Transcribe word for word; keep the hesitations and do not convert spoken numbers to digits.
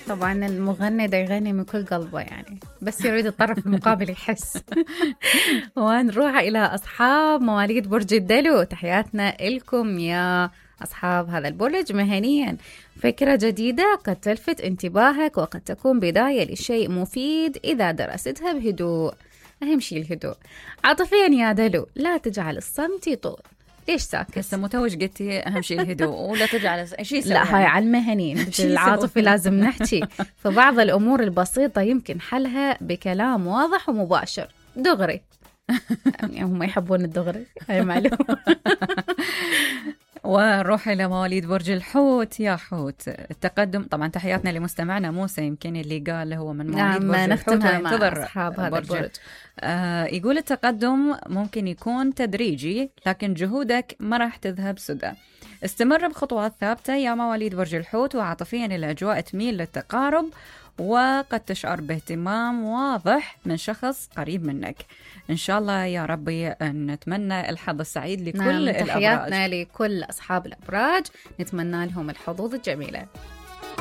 طبعا المغني دا يغني من كل قلبه يعني، بس يريد الطرف المقابل يحس. ونروح إلى أصحاب مواليد برج الدلو، تحياتنا لكم يا أصحاب هذا البرج. مهنيا فكرة جديدة قد تلفت انتباهك وقد تكون بداية لشيء مفيد إذا درستها بهدوء، أهم شيء الهدوء. عاطفيا يا دلو لا تجعل الصمت يطول. ليش ساكت؟ هسه متوج قلتي أهم شيء الهدوء ولا تجعل شيء سوي. لا هاي على المهنيين، العاطفي لازم نحكي. فبعض الأمور البسيطة يمكن حلها بكلام واضح ومباشر دغري. يعني هم يحبون الدغري، هاي معلومة. ونروح إلى مواليد برج الحوت. يا حوت التقدم، طبعا تحياتنا لمستمعنا موسى يمكن اللي قال هو من مواليد نعم برج الحوت وينتظر أصحاب هذا برج البرج. آه يقول التقدم ممكن يكون تدريجي لكن جهودك ما راح تذهب سدى. استمر بخطوات ثابتة يا مواليد برج الحوت، وعاطفيا الأجواء تميل للتقارب وقد تشعر باهتمام واضح من شخص قريب منك. إن شاء الله يا ربي نتمنى الحظ السعيد لكل نعم الأبراج. تحياتنا لكل أصحاب الأبراج، نتمنى لهم الحظوظ الجميلة.